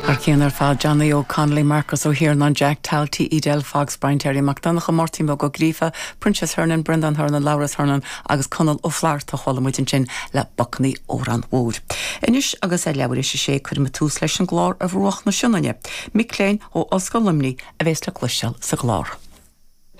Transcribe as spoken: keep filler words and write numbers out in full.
Thar cionn ar fad Johnny O'Connolly, Marcus Ó hIarnáin, Jack Talty, Edel Fox, Brian Terry MacDonach Martin Ó Gríofa, Princess Hernan, Brendan Hernan, Laurus Hernan agus Conall Ó Flatharta a chuala muid ansin le Bacannaí Órán Mhóir. Anois agus é leathuair tar éis a sé cuirfidh muid tús leis an gclár Ar Bhruach na Sionainne. Mic léinn ó Ollscoil Luimnigh a bheas le cloisteáil sa gclár.